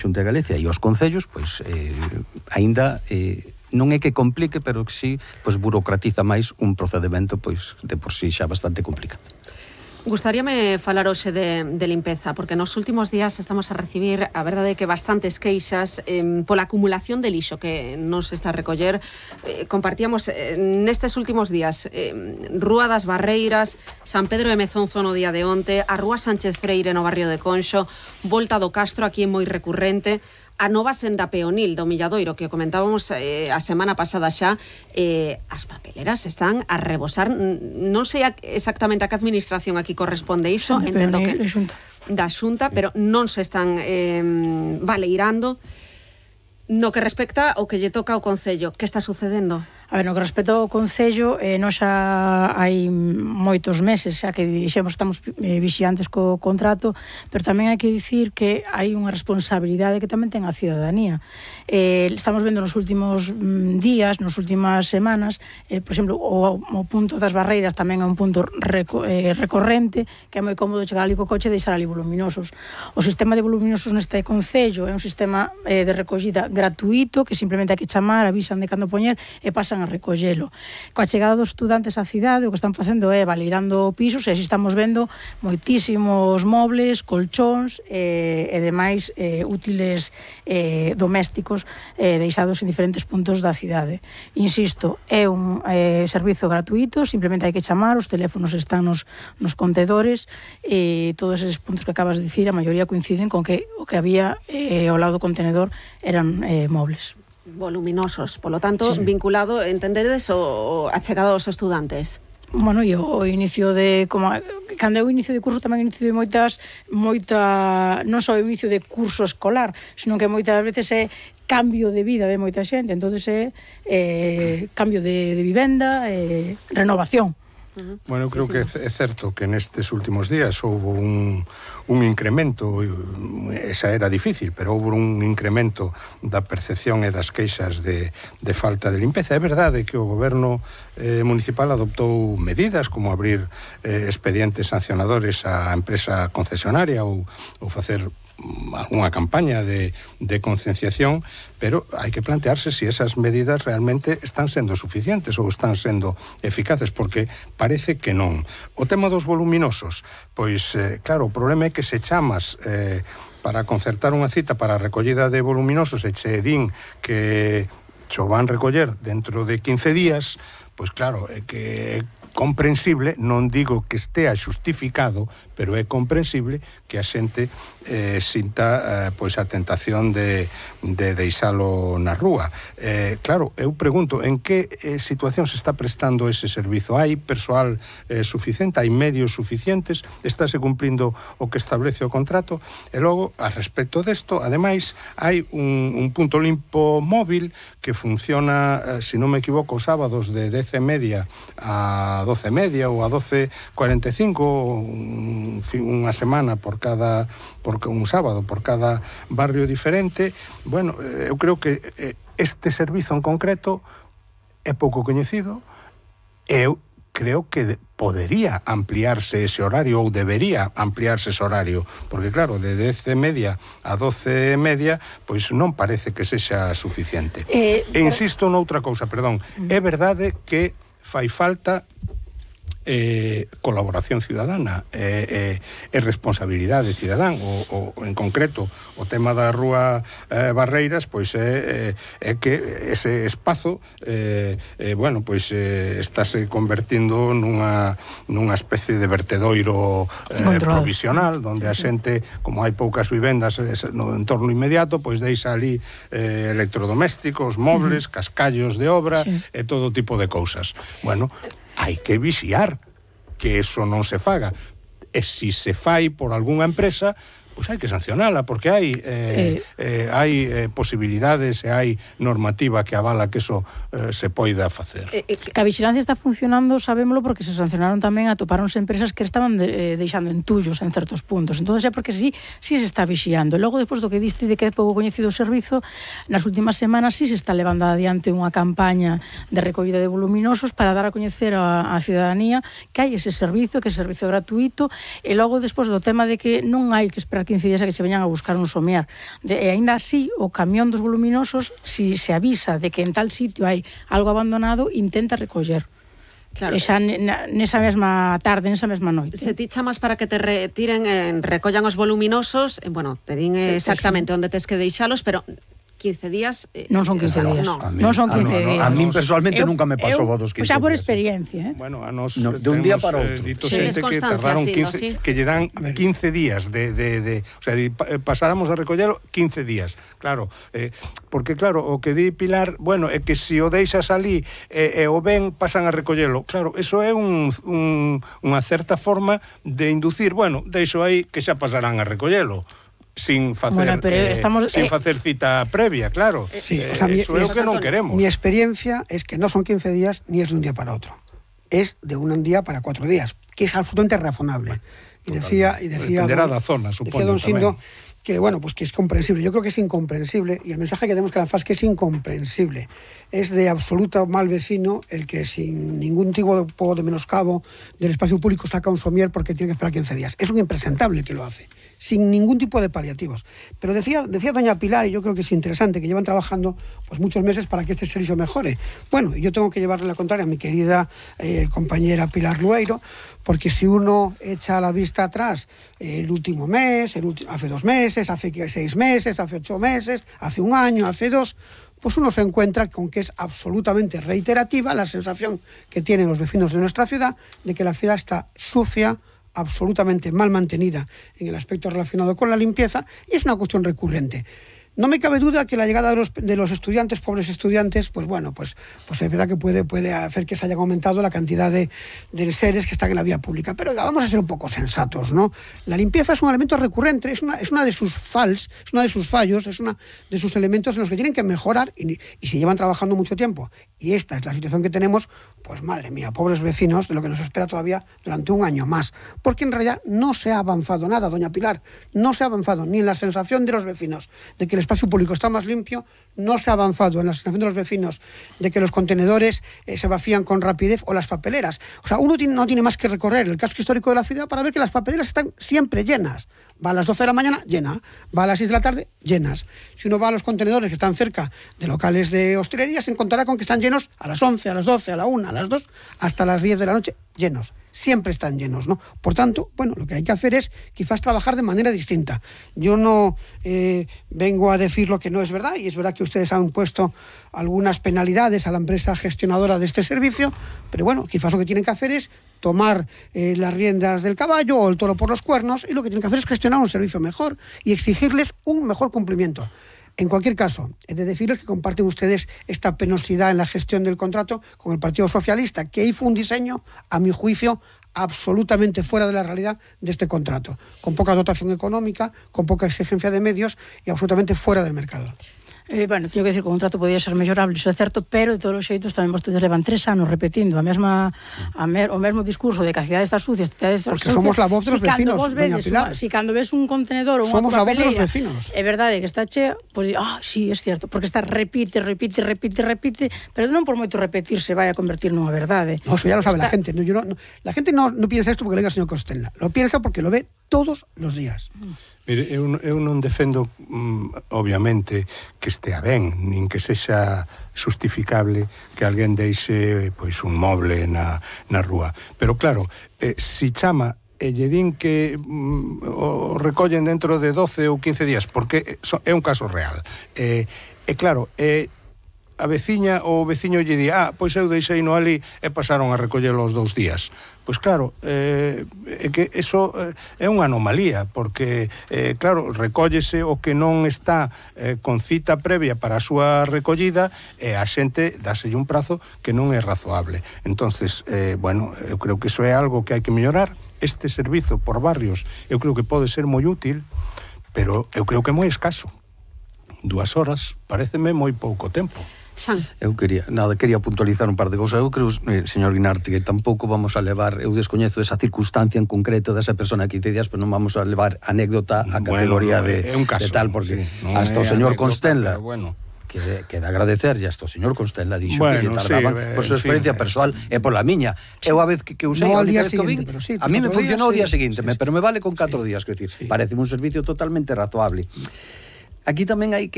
Xunta de Galicia e os concellos, pois, aínda non é que complique, pero que sí, pois, burocratiza máis un procedimento, pois, de por sí xa bastante complicado. Gustaríame falar hoxe de limpeza, porque nos últimos días estamos a recibir, a verdade, que bastantes queixas pola acumulación de lixo que nos está a recoller. Compartíamos nestes últimos días Rúa das Barreiras, San Pedro de Mezonzo no día de onte, a Rúa Sánchez Freire no barrio de Conxo, Volta do Castro, aquí moi recurrente, a nova senda peonil do Milladoiro, que comentábamos a semana pasada xa. As papeleras están a rebosar. Non sei exactamente a que administración aquí corresponde iso, entendo que da Xunta, pero non se están baleirando. No que respecta ao que lle toca ao Concello, que está sucedendo? A ver, no que respecta ao Concello, nós xa hai moitos meses xa que dixemos estamos vixiantes co contrato, pero tamén hai que dicir que hai unha responsabilidade que tamén ten a cidadanía. Estamos vendo nos últimos días, nas últimas semanas, por exemplo, o punto das Barreiras tamén é un punto recorrente, que é moi cómodo chegar ali co coche e deixar ali voluminosos. O sistema de voluminosos neste Concello é un sistema de recollida gratuito, que simplemente hai que chamar, avisan de cando poñer e pasan a recollelo. Coa chegada dos estudantes á cidade, o que están facendo é baleirando pisos, e así estamos vendo moitísimos mobles, colchóns e demais útiles domésticos deixados en diferentes puntos da cidade. Insisto, é un servizo gratuito, simplemente hai que chamar, os teléfonos están nos contedores, e todos eses puntos que acabas de dicir, a maioría coinciden con que o que había ao lado do contenedor eran mobles voluminosos, polo tanto, sí, vinculado, entendedes, a chegada dos estudantes. Bueno, e o inicio de, como cando é o inicio de curso, tamén o inicio de non só o inicio de curso escolar, sino que moitas veces é cambio de vida de moita xente, entonces é cambio de vivenda, renovación. Bueno, eu creo que é certo que nestes últimos días houve un incremento, esa era difícil, pero houve un incremento da percepción e das queixas de falta de limpeza. É verdade que o goberno municipal adoptou medidas como abrir expedientes sancionadores á empresa concesionaria ou facer algunha campaña de concienciación, pero hai que plantearse se esas medidas realmente están sendo suficientes ou están sendo eficaces, porque parece que non. O tema dos voluminosos, pois, claro, o problema é que se chamas para concertar unha cita para a recollida de voluminosos e che din que xo van recoller dentro de 15 días, pois claro, é que comprensible, non digo que estea xustificado, pero é comprensible que a xente sinta pois a tentación de deixalo na rúa. Claro, eu pregunto, en que situación se está prestando ese servizo? Hai persoal suficiente? Hai medios suficientes? Estáse cumplindo o que establece o contrato? E logo, a respecto desto, ademais, hai un punto limpo móvil que funciona, se non me equivoco, os sábados de 10:30 a 12:30 ou a 12:45, unha semana por un sábado por cada barrio diferente. Bueno, eu creo que este servizo en concreto é pouco coñecido. Eu creo que podería ampliarse ese horario, ou debería ampliarse ese horario, porque claro, de 10:30 a 12:30, pois non parece que sexa suficiente. E insisto noutra cousa, perdón, é verdade que fai falta colaboración cidadana e responsabilidade cidadán, o en concreto o tema da Rúa Barreiras, pois é que ese espazo bueno, pois estáse convertindo nunha especie de vertedoiro provisional, onde a xente, como hai poucas vivendas no entorno inmediato, pois deixa ali electrodomésticos, mobles, cascallos de obra e todo tipo de cousas. Bueno, hai que vixiar que eso non se faga. E se se fai por algunha empresa, pois hai que sancionala, porque hai posibilidades e hai normativa que avala que eso se poida facer. Que a vigilancia está funcionando, sabémolo, porque se sancionaron tamén, atopáronse empresas que estaban deixando entullos en certos puntos. Entón é porque sí se está vixiando. E logo, despois do que diste de que é pouco coñecido o servizo, nas últimas semanas sí se está levando adiante unha campaña de recollida de voluminosos para dar a coñecer á cidadanía que hai ese servizo, que é servizo gratuito, e logo, despois do tema de que non hai que esperar que 15 días a que se veñan a buscar un somiar. E aínda así, o camión dos voluminosos, si se avisa de que en tal sitio hai algo abandonado, intenta recoller. Claro. E xa nesa mesma tarde, nesa mesma noite. Se ti chamas para que te retiren, recollan os voluminosos, bueno, te din exactamente onde tes que deixalos, pero 15 días... non son 15 días. Non son 15 días. A min personalmente nunca me pasou vos dos 15 días. Xa por experiencia, Bueno, a nos de un día para outro. Dito xente que tardaron 15, que lle dan 15 días o sea, pasáramos a recollelo 15 días. Claro, porque claro, o que di Pilar, bueno, é que se o deixas ali e o ven, pasan a recollelo. Claro, eso é unha certa forma de inducir, bueno, deixo aí que xa pasarán a recollelo. Sin facer, sin facer cita previa, claro. Sí, o sea, eso é o que non queremos. Mi experiencia es que no son 15 días ni es de un día para otro. Es de un día para 4 días, que es absolutamente razonable. Y decía dependerá da zona, supoño, don Sindo, que bueno, pues que es comprensible. Yo creo que es incomprensible, y el mensaje que tenemos que lanzar es que es incomprensible. Es de absoluto mal vecino el que sin ningún tipo de menoscabo del espacio público saca un somier porque tiene que esperar 15 días. Es un impresentable el que lo hace, sin ningún tipo de paliativos. Pero decía doña Pilar, y yo creo que es interesante, que llevan trabajando pues muchos meses para que este servicio mejore. Bueno, yo tengo que llevarle la contraria a mi querida compañera Pilar Lueiro, porque si uno echa la vista atrás el último mes, hace 2 meses, hace 6 meses, hace 8 meses, hace 1 año, hace 2, pues uno se encuentra con que es absolutamente reiterativa la sensación que tienen los vecinos de nuestra ciudad de que la ciudad está sucia, absolutamente mal mantenida en el aspecto relacionado con la limpieza, y es una cuestión recurrente. No me cabe duda que la llegada de los estudiantes, pobres estudiantes, pues bueno, pues es verdad que puede hacer que se haya aumentado la cantidad de seres que están en la vía pública. Pero vamos a ser un poco sensatos, ¿no? La limpieza es un elemento recurrente, es una de sus fallos, es una de sus elementos en los que tienen que mejorar y se llevan trabajando mucho tiempo. Y esta es la situación que tenemos, pues madre mía, pobres vecinos, de lo que nos espera todavía durante 1 año más. Porque en realidad no se ha avanzado nada, doña Pilar, no se ha avanzado ni en la sensación de los vecinos de que el espacio público está más limpio, no se ha avanzado en la sensación de los vecinos de que los contenedores se vacían con rapidez, o las papeleras. O sea, uno no tiene más que recorrer el casco histórico de la ciudad para ver que las papeleras están siempre llenas. Va a las 12 de la mañana, llena. Va a las 6 de la tarde, llenas. Si uno va a los contenedores que están cerca de locales de hostelería, se encontrará con que están llenos a las 11, a las 12, a la 1, a las 2, hasta las 10 de la noche, llenos. Siempre están llenos, ¿no? Por tanto, bueno, lo que hay que hacer es quizás trabajar de manera distinta. Yo no vengo a decir lo que no es verdad, y es verdad que ustedes han puesto algunas penalidades a la empresa gestionadora de este servicio, pero bueno, quizás lo que tienen que hacer es tomar las riendas del caballo o el toro por los cuernos, y lo que tienen que hacer es gestionar un servicio mejor y exigirles un mejor cumplimiento. En cualquier caso, he de decirles que comparten ustedes esta penosidad en la gestión del contrato con el Partido Socialista, que ahí fue un diseño, a mi juicio, absolutamente fuera de la realidad de este contrato, con poca dotación económica, con poca exigencia de medios y absolutamente fuera del mercado. Bueno, teño que decir que o contrato podía ser mellorable, iso é certo, pero de todos os xeitos tamén vostedes levan 3 anos repetindo o mesmo discurso de que a cidade está sucia, porque somos la voz de los vecinos, doña Pilar. Si cando ves un contenedor ou unha somos la voz de los papeleira, vecinos. É verdade que está chea, pois sí, é certo, porque está repite, pero non por moito repetir se vai a convertir nunha verdade. No, eso ya lo sabe la gente. La gente no piensa esto porque lo diga el señor Costella, lo piensa porque lo ve todos los días. Mire, eu non defendo, obviamente, que estea ben, nin que sexa justificable que alguén deixe pois un moble na rúa. Pero claro, si chama e lle din que o recollen dentro de 12 ou 15 días, porque é un caso real. E claro, a veciña ou o veciño lle di, pois eu deixei no ali e pasaron a recollelo os 2 días. Pois claro, é que eso é unha anomalía, porque, claro, recóllese o que non está con cita previa para a súa recollida, e a xente dáselle un prazo que non é razoable. Entonces, bueno, eu creo que eso é algo que hai que mellorar. Este servizo por barrios eu creo que pode ser moi útil, pero eu creo que é moi escaso. 2 horas pareceme moi pouco tempo. Eu quería puntualizar un par de cousas. Eu creo, señor Guinarte, que tampouco vamos a levar, eu descoñezo esa circunstancia en concreto desa persona que 15 días, pero non vamos a levar anécdota a categoría de tal, porque hasta o señor Constenla, que de agradecerlle hasta o señor Constela dixo que lle Bueno, tardaban sí, por súa experiencia persoal e pola miña. Eu a vez que usei, No a al única día vez que o vin, siguiente, pero sí, a mí me 4 funcionou o día días, seguinte, pero me vale con 4 días, quer decir, parece un servicio totalmente razoable. Aquí tamén hai que